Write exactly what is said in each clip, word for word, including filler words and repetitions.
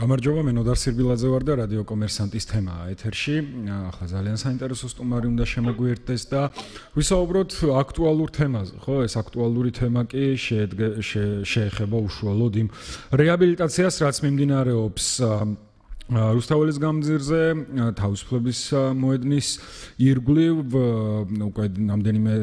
გამარჯობა, მე ნოდარ სირბილაძე ვარ და რადიო კომერსანტის თემაა ეთერში. ახლა ძალიან საინტერესო სტუმარი უნდა შემოგვიერთდეს და ვისაუბროთ აქტუალურ თემაზე, ხო? ეს აქტუალური თემა კი შეეხება უშუალოდ იმ რეაბილიტაციას, რაც მიმდინარეობს რუსთაველის გამზირზე, თავისუფლების მოედნის ირგვლივ, უკვე რამდენიმე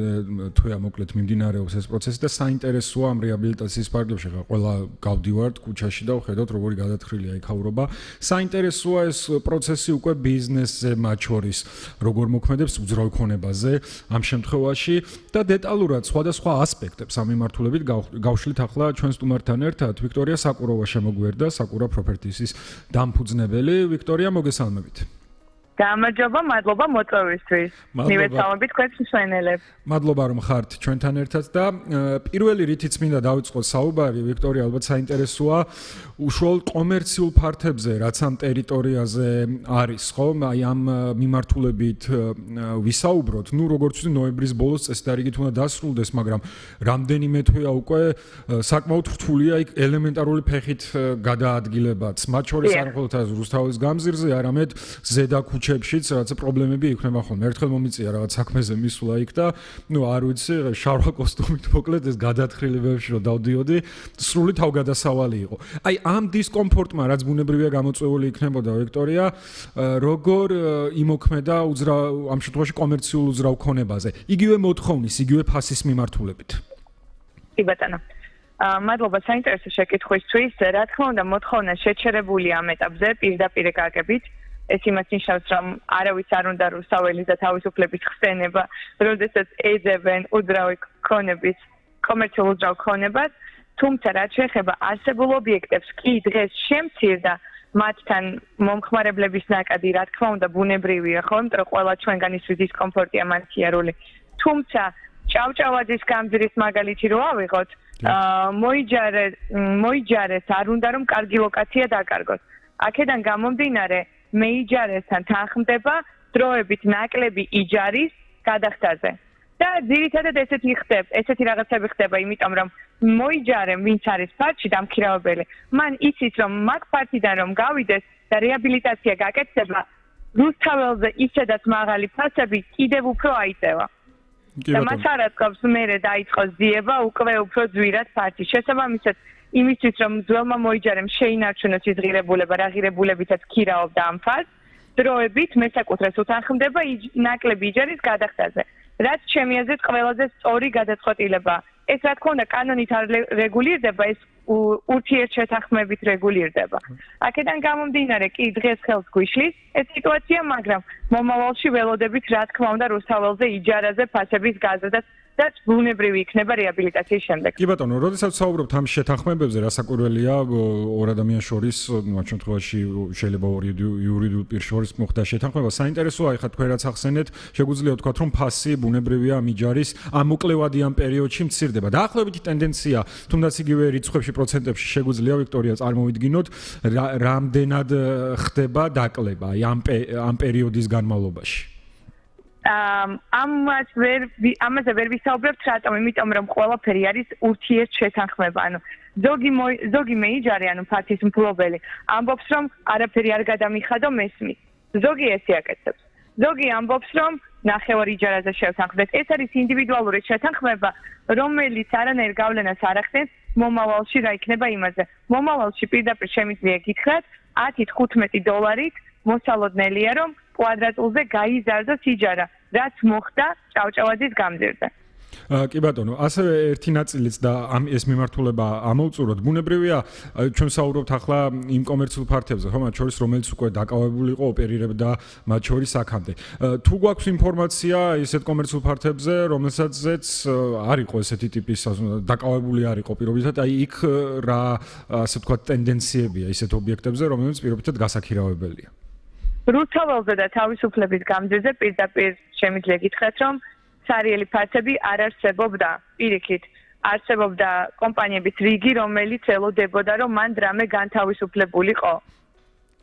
თვეა მოკლედ მიმდინარეობს ეს პროცესი და საინტერესოა ამ რეაბილიტაციის ფარგლებში. ყველა გავდივართ ქუჩაში და ვხედავთ როგორი გადათხრილია იქაურობა. საინტერესოა ეს პროცესი უკვე ბიზნესზე მათ შორის, როგორ მოქმედებს უძრავ ქონებაზე ამ შემთხვევაში და დეტალურად სხვადასხვა ასპექტებს ამ მიმართულებით გავშლით ახლა ჩვენ სტუმართან ერთად. ვიქტორია საკუროვა შემოგვიერთდა, საკურა პროპერტისის დამფუძნებელი. ვიქტორია, მოგესალმებით. გამარჯობა, მადლობა მოწვევისთვის. მივეცალმებით თქვენს მსმენელებს. მადლობა რომ ხართ ჩვენთან ერთად და პირველი რითიც მინდა დავიწყოთ საუბარი, ვიქტორია, ალბათ საინტერესოა უშუალოდ კომერციულ ფართებზე, რაც ამ ტერიტორიაზე არის, ხო? აი ამ მიმართულებით ვისაუბროთ. ნუ როგორც ვთქვი, ნოემბრის ბოლოს წესდარიგით უნდა დასრულდეს, მაგრამ რამდენიმე თვეა უკვე საკმაოდ რთულია იქ ელემენტარული ფეხით გადაადგილებაც. მათ შორის არ მხოლოდ რუსთაველის გამზირზე, არამედ ზედა ქუჩებშიც რაც პრობლემები იქნება ხოლმე. ერთხელ მომიწია რაღაც საქმეზე მისვლა იქ და ნუ არ ვიცი, შარვა კოსტუმით მოკლედ ეს გადათხრილებებში რომ დავდიოდი, სრული თავგადასავალი იყო. აი ამ დისკომფორტმა, რაც ბუნებრივია გამოწვეული იქნებოდა, ვიქტორია, როგორ იმოქმედა უძრავ ამ შემთხვევაში კომერციულ უძრავ ქონებაზე, იგივე მოთხოვნის, იგივე ფასის მიმართულებით. კი ბატონო. მადლობა საინტერესო შეკითხვისთვის. რა თქმა უნდა, მოთხოვნა შეჩერებული ამ ეტაპზე პირდაპირ გაგებით. ეს იმას ნიშნავს, რომ არავის არ უნდა რუსთაველის და თავისუფლების ხსენება, როდესაც ეძებენ უძრავი ქონების, კომერციულ უძრავ ქონებას, თუმცა რაც შეეხება არსებულ ობიექტებს, კი დღეს შემცირდა მათთან მომხმარებლების ნაკადი, რა თქმა უნდა, ბუნებრივია, ხო, იმიტომ რომ ყველა ჩვენგანისთვის დისკომფორტია მანქიერული. თუმცა ჭავჭავაძის გამზირის მაგალითი რო ავიღოთ, მოიჯარე, მოიჯარეს, არ უნდა რომ კარგი ლოკაცია დაკარგოს. აქედან გამომდინარე მეიჯარესთან თანხმდება დროებით ნაკლები იჯარის გადახდაზე. და ძირითადად ესეთი ხდება, ესეთი რაღაცები ხდება, იმიტომ რომ მოიჯარემ, ვინც არის ფართში დამქირავებელი, მან იცის, რომ მაგ ფართიდან რომ გავიდეს და რეაბილიტაცია გაკეთდება, რუსთაველზე ისედაც მაღალი ფასები კიდევ უფრო აიწევა. და მას არ აწყობს მერე დაიწყოს ძიება უკვე უფრო ძვირად ფართში. შესაბამისად, იმისთვის რომ ძველმა მოიჯარემ შეინარჩუნოს ის ღირებულება, რა ღირებულებითაც ქირაობდა ამ ფასს, დროებით მესაკუთრეს უთანხმდება ნაკლები იჯარის გადახდაზე. რაც ჩემი აზრით ყველაზე სწორი გადაწყვეტილება. ეს რა თქმა უნდა კანონით არ რეგულირდება, ეს ურთიერთშეთანხმებით რეგულირდება. აქედან გამომდინარე, კი დღეს ხელს გვიშლის ეს სიტუაცია, მაგრამ მომავალში ველოდებით რა თქმა უნდა რუსთაველზე იჯარაზე ფასების გაზრდას და ბუნებრივი იქნება რეაბილიტაციის შემდეგ. კი ბატონო, როდესაც საუბრობთ ამ შეთანხმებებზე, რასაკვირველია, ორ ადამიანს შორის, მათ შემთხვევაში შეიძლება ორი იურიდიულ პირს შორის მოხდა შეთანხმება. საინტერესოა, ეხლა თქვენ რაც ახსენეთ, შეგვიძლია ვთქვათ, რომ ფასი ბუნებრივია ამ იჯარის ამ მოკლევადი ამ პერიოდში მცირდება. დაახლოებითი ტენდენცია, თუნდაც იგივე რიცხვებში, პროცენტებში შეგვიძლია ვიქტორია წარმოვიდგინოთ, რამდენად ხდება დაკლება აი ამ ამ პერიოდის განმავლობაში. ამას ვერ ამაზე ვერ ვისაუბრებთ, რატომ? იმიტომ რომ ყველაფერი არის ურთიერთშეთანხმება. ანუ ზოგი ზოგი მეიჯარე, ანუ ფართის მფლობელი, ამბობს რომ არაფერი არ გადამიხადო მესმის. ზოგი ესე აკეთებს. ზოგი ამბობს რომ ნახევარ იჯარაზე შევთანხმდეთ. ეს არის ინდივიდუალური შეთანხმება, რომელიც არანაირ გავლენას არ ახდენს მომავალში რა იქნება იმაზე. მომავალში პირდაპირ შემიძლია გითხრათ ათი თხუთმეტი დოლარით მოსალოდნელია რომ კვადრატულზე გაიზარდოს იჯარა, რაც მოხდა ჭავჭავაძის გამზირზე. კი ბატონო, ასევე ერთი ნაწილიც და ამ ეს მიმართულება ამოვწუროთ. ბუნებრივია, ჩვენ საუბრობთ ახლა იმ კომერციულ ფართებზე, ხო, მათ შორის რომელიც უკვე დაკავებული იყო, ოპერირებდა მათ შორის აქამდე. თუ გვაქვს ინფორმაცია ისეთ კომერციულ ფართებზე, რომელსაც არ იყო ესეთი ტიპის დაკავებული არ იყო პირობითად, აი იქ რა ასე ვთქვათ ტენდენციებია ისეთ ობიექტებზე, რომელიც პირობითად გასაქირავებელია. რუსთაველზე და თავისუფლების გამზირზე პირდაპირ შემიძლია გითხრათ, რომ სარიელი ფასები არ არსებობდა. პირიქით, არსებობდა კომპანიების რიგი, რომელიც ელოდებოდა, რომ მან დრამე განთავისუფლებულიყო.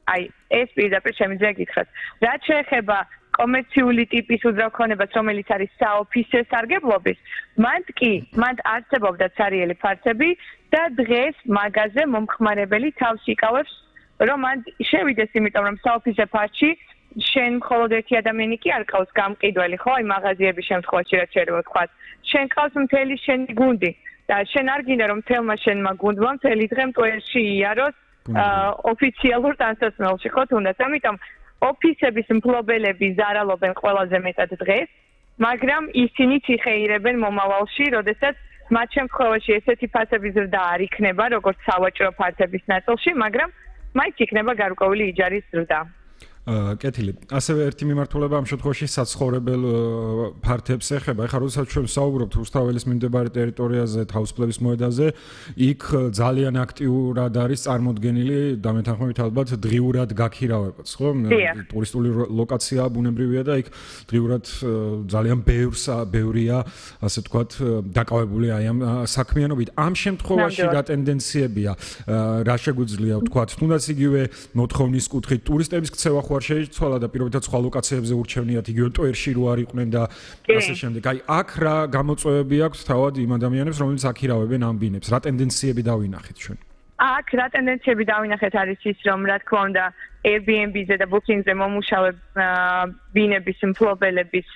აი, ეს პირდაპირ შემიძლია გითხრათ. რაც შეეხება კომერციული ტიპის უძრავ ქონებას, რომელიც არის საოფისე სარგებლობის, მან კი, მან არსებობდა სარიელი ფასები და დღეს მაგაზე მომხმარებელი თავს იკავებს რომ მან შევიდეს, იმიტომ რომ საოფისე ფასში შენ მხოლოდ ერთი ადამიანი კი არ ყავს გამყიდველი, ხო, აი მაღაზიების შემთხვევაში რაც შეიძლება ვთქვათ. შენ ყავს მთელი შენი გუნდი და შენ არ გინდა რომ თელმა შენმა გუნდმა მთელი დღე მტვერში იაროს ოფიციალურ ტანსაცმელში, ხო, თუნდაც. ამიტომ ოფისების მფლობელები ზარალობენ ყველაზე მეტად დღეს, მაგრამ ისინი ციხეირებენ მომავალში, როდესაც მათ შემთხვევაში ესეთი ფასების ზრდა არ იქნება, როგორც სავაჭრო ფართების ნაწილში, მაგრამ მაინც იქნება გარკვეული იჯარის ზრდა. კეთილი. ასევე ერთი მიმართულება ამ შემთხვევაში საცხოვრებელ ფართებს ეხება. ეხლა როდესაც ჩვენ საუბრობთ რუსთაველის მიმდებარე ტერიტორიაზე, თავისუფლების მოედანზე, იქ ძალიან აქტიურად არის წარმოდგენილი დამეთანხმებით ალბათ დღიურად გაქირავებაც, ხო? ტურისტული ლოკაცია ბუნებრივია და იქ დღიურად ძალიან ბევრს ბევრია, ასე ვთქვათ, დაკავებული აი ამ საქმიანობით. ამ შემთხვევაში რა ტენდენციებია, რა შეგვიძლია ვთქვათ, თუნდაც იგივე მოთხოვნის კუთხით ტურისტების ქცევა არ შეიცვალა და პირობითად სხვა ლოკაციებზე ურჩევნიათ იგივე ტვერში რო არ იყვნენ და ასე შემდეგ. აი აქ რა გამოწვევები აქვს თავად იმ ადამიანებს, რომლებიც აქირავებენ ამ ბინებს? რა ტენდენციები დავინახეთ ჩვენ? აქ რა ტენდენციები დავინახეთ არის ის, რომ რა თქმა უნდა Airbnb-ზე და Booking-ზე მომუშავე ბინების მფლობელების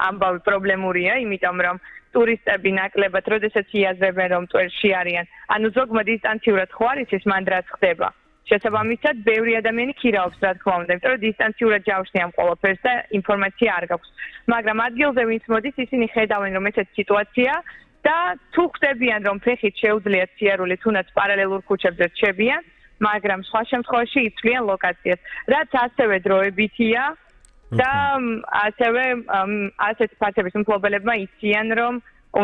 ამბავი პრობლემურია, იმიტომ რომ ტურისტები ნაკლებად, როდესაც იაზრებენ რომ ტვერში არიან, ანუ ზოგმა დისტანციურად ხო არის ის მანდ რაც ხდება. შესაბამისად, ბევრი ადამიანი ქირაობს, რა თქმა უნდა, იმიტომ რომ დისტანციურად ჯავშნი ამ ყველაფერს და ინფორმაცია არ გაქვს. მაგრამ ადგილზე ვინც მოდის, ისინი ხედავენ, რომ ესეთი სიტუაცია და თუ ხდებიან, რომ ფეხით შეუძლიათ სიარული, თუნდაც პარალელურ ქუჩებზე რჩებიან, მაგრამ სხვა შემთხვევაში იცვლიან ლოკაციას, რაც ასევე დროებითია და ასევე ასეთ ფასების მფლობელებმა იციან, რომ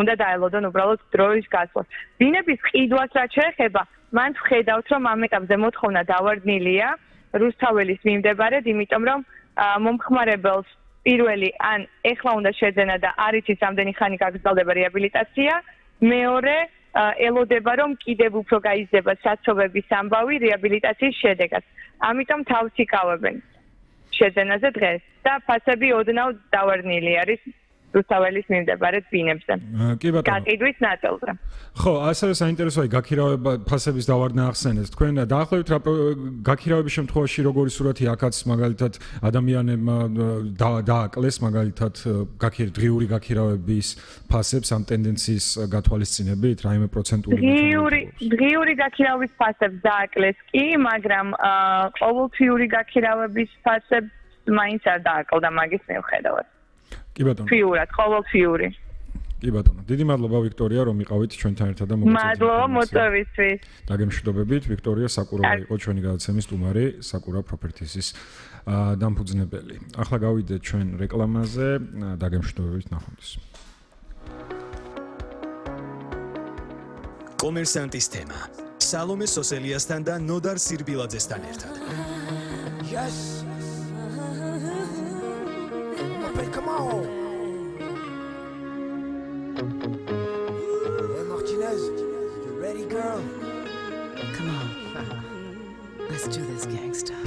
უნდა დაელოდონ უბრალოდ დროის გასვლას. ბინების ყიდვას რაც შეეხება, მან ვხედავთ, რომ ამ ეტაპზე მოთხოვნა დავარდნილია რუსთაველის მიმდებარედ, იმიტომ რომ მომხმარებელს პირველი ან ეხლა უნდა შეძენა და არ იცის ამდენი ხანი გაგრძელდება რეაბილიტაცია, მეორე ელოდება, რომ კიდევ უფრო გაიზრდება საცობების ამბავი რეაბილიტაციის შედეგად. ამიტომ თავს იკავებენ შეძენაზე დღეს და ფასები ოდნავ დავარდნილი არის რუსთაველის მიმდებარედ ბინებზე. კი ბატონო. გაკიდვის ნაწილზე. ხო, ასევე საინტერესოა გაქირავება ფასების დავარდნა ახსენეთ. თქვენ დაახლოებით რა გაქირავების შემთხვევაში როგორი სურათი აქაც მაგალითად ადამიანებმა დააკლეს მაგალითად დღიური გაქირავების ფასებს ამ ტენდენციის გათვალისწინებით, რაიმე პროცენტული დღიური დღიური გაქირავების ფასებს დააკლეს კი, მაგრამ ყოველთვიური გაქირავების ფასებს მაინც არ დააკლდა მაგის მიუხედავად. კი ბატონო. ფიურად, ყოველთვიური. კი ბატონო. დიდი მადლობა ვიქტორია, რომ იყავით ჩვენთან ერთად და მოგწოდეთ. მადლობა მოწვევისთვის. დაგემშვიდობებით, ვიქტორია საკურავა იყო ჩვენი გადაცემის სტუმარი, საკურა პროპერტისის დამფუძნებელი. ახლა გავიდეთ ჩვენ რეკლამაზე, დაგემშვიდობებით ნახვამდის. კომერსანტის თემა. სალომე სოსელიასთან და ნოდარ სირბილაძესთან ერთად. Yes. Come on. Hey Martinez, you ready, girl? Come on. Let's do this, gangsta.